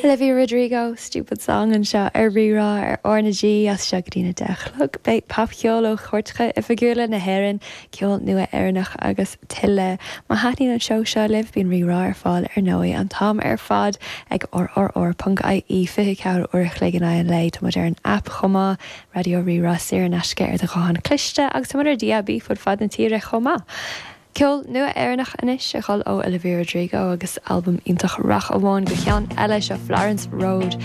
Olivia Rodrigo, Stupid Song anseo ar Rí-Rá ar R na G as seo go dtí na 10 a chlog. Beidh popcheol ó chairteacha oifigiúla na hÉireann, ceol nua Éireannach agus tuilleadh. Má thaitníonn an seó seo libh, bíonn Rí-Rá ar fáil ar ndóigh an t-am ar fad ag rrr.ie, 24 uair a chloig in aghaidh an lae. Tá muid ar an aip chomh maith, Raidió Rí-Rá saor in aisce ar do ghuthán cliste agus tá muid ar DAB fud fad na tíre chomh maith. Ceol nua Éireannach anois a dhul ó Olivia Rodrigo agus albam iontach Rath Amháin go ceann eile, seo Florence Road.